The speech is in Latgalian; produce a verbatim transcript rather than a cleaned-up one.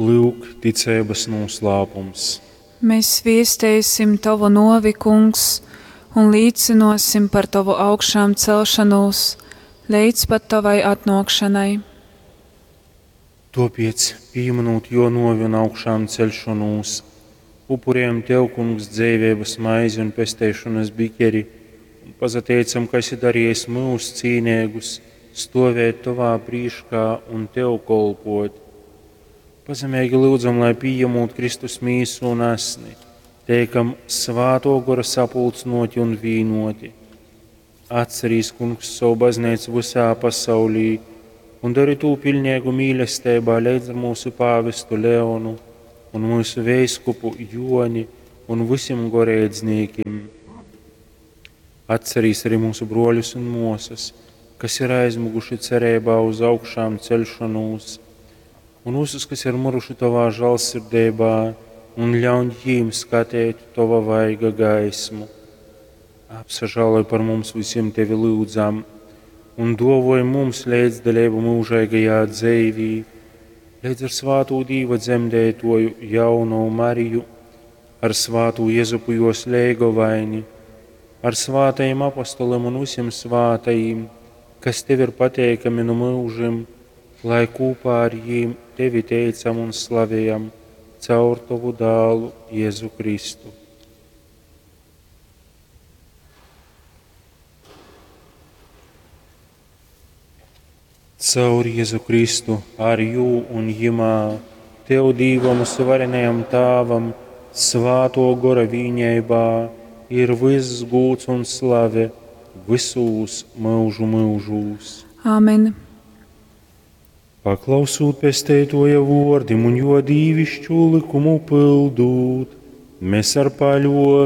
Lyuk, ticeibas nūslāpums. Mēs viesteisim Tovu nuovi, Kungs, un līcynuosim par Tovu augšāmcelšanūs leidz pat Tovai atnuokšanai. Tuopiec, pīmynūt juo nuovi un augšāmceļšonūs, upurējam Tev, Kungs, dzeiveibas maizi un pesteišonas bikeri, un pasateicam, ka esi dariejis myus cīneigus stuovēt Tovā prīškā un Tev kolpot. Pazemeigi lyudzam, lai pījemūt Kristus mīsu un asni, teikam Svātō Gora sapulcynōti un vīnōti. Atcerīs, Kungs, sovu bazneicu vysā pasaulī un dori tū piļneigu mīlesteibā leidz ar mūsu pāvestu Leonu un mūsu veiskupu Joni un vysim goreidznīkim. Atcerīs arī mūsu bruoļus un muosas, kas ir aizmuguši cereibā uz augšām ceļšanos, un visus, kas ir miruši Tovā žālsirdeibā, un ļauņ jīm skatēt Tova vaiga gaismu. Apsažāloj par mums visiem Tevi lyudzam, un duovoj mums leidzdaleibu mūžeigajā dzeivī, leidz ar svātū Dīva dzemdētoju jauno Mariju, ar svātū Jezupu jos leigovaini, ar svātajiem apostoliem un visiem svātajiem, kas Tev ir pateikami nu mūžim, lai kopā ar jīm Tevi teicam un slavējam caur Tovu dālu Jēzu Kristu. Caur Jēzu Kristu, ar jū un jimā, Tev Dīvam varenajam Tāvam, svāto gora vīņeibā, ir viss gūds un slave visūs mūžu mūžūs. Āmen. Paklausūt pesteitoja vordim un jo dīvišķu likumu pildūt, mēs ar paļovi